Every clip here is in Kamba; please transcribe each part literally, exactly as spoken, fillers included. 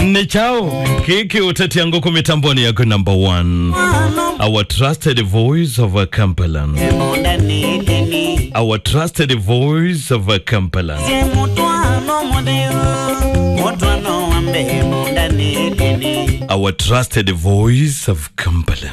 Nĩ kyaũ kĩĩ kĩũtetia ngũkũ mĩtambonĩ yaku number one? Our trusted voice of Kampala. Our trusted voice of Kampala. Our trusted voice of Kampala.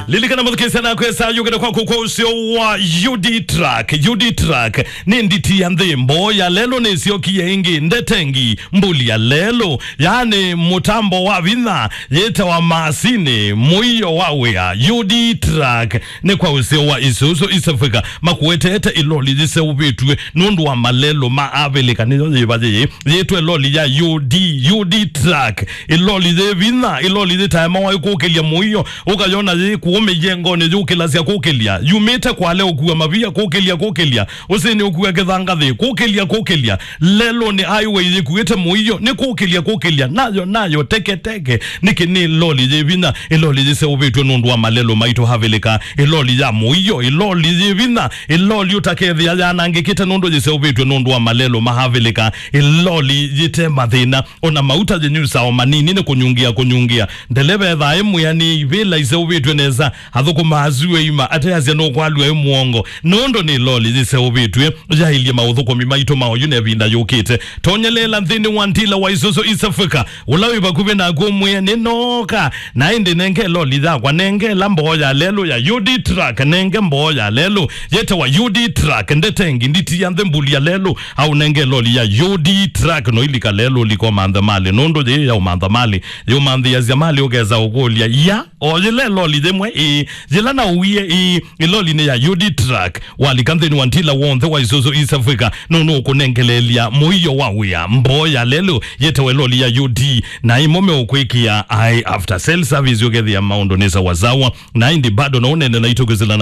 Lilikana mũthukĩĩsya nakwĩsa yũkĩte kwaku kwa ũseo wa U D Truck. U D Truck nĩ nditi ya nthĩ, mboo ya lelũ nĩsyokie ĩngĩ, ndetengi, mbuli ya lelũ, yaani mũtambo wa vinya, yĩtawa masini, mũio wa wĩa. U D Truck nĩ kwa ũseo wa Isuzu East Africa, makũetete ĩloli yĩseũvĩtw'e nũndũ wa malelũ ma Avilika. Nĩyo yĩva yĩĩ yĩtwe ĩloli ya U D, U D Truck, ĩloli yĩ vinya, ĩloli yĩtaemawa ĩkũkĩlya mũio, ũkayona yĩ kũũ mĩyengonĩ yũkĩlasya kũkĩlya, yumĩte Kwale ũkua mavia kũkĩlya, kũkĩlya, ũsĩnĩ ũkua kĩthangathĩ kũkĩlya, kũkĩlya, lelũnĩ highway yĩkuĩte mũio, nĩ kũkĩlya, kũkĩlya, nayo, nayo, teke, teke, nĩkĩ nĩ ĩloli yĩ vinya, ĩloli yĩseũvĩtw'e nũndũ wa malelũ maitũ Avilika, ĩloli ya mũio, ĩloli yĩ vinya, ĩloli ũtakethĩa yanangĩkĩte nũndũ yĩseũvĩtw'e nũndũ wa malelũ ma Avilika, ĩloli yĩte mathĩna, ona mauta yĩnyusaa o manini nĩ kũnyungia, kũnyungia. Ndeleva ethaa e mwĩanĩi, ivĩla iseũvĩtw'e nesa, athũkũma asu eima, ateasya nũkwalw'a e mũongo, nũndũ nĩ ĩloli yĩseũvĩtw'e, yaĩlye maũthũkũmi maitũ ma oyu na ĩvinda yũkĩte. Tonyeleela nthĩnĩ wa ndila wa Isuzu East Africa, ũla wĩ vakuvĩ naku ũmwĩe, "Nĩnooka, na ĩndĩ nenge ĩloli yakwa, nenge ĩla mboo ya lelũ ya U D Truck, nenge mboo ya lelũ yĩtawa U D Truck, ndetengi, nditi ya nthĩ, mbuli ya lelũ, aũnenge ĩloli ya U D Truck." Noilika lelũ, ũlika ũmanthe malĩ, nũndũ yĩĩ ya ũmantha malĩ, yĩũmanthĩĩasya malĩ, ũkesa ũkũlya, "Ya, o yĩla ĩloli yĩmwe, ĩĩ, yĩla naũwie, ĩĩ, ĩloli nĩ ya U D Truck." Walika nthĩnĩ wa ndila w'onthe wa Isuzu East Africa, nũndũ nũkũnengeleelya mũio wa wĩa, mboo ya lelũ yĩtawa ĩloli ya U D, na ĩmo meũkwĩkĩa ai after sale service, ũkethĩa maũndũ nĩ sawasawa. Na ĩndĩ bado no ũnene naitũ kwĩsĩla na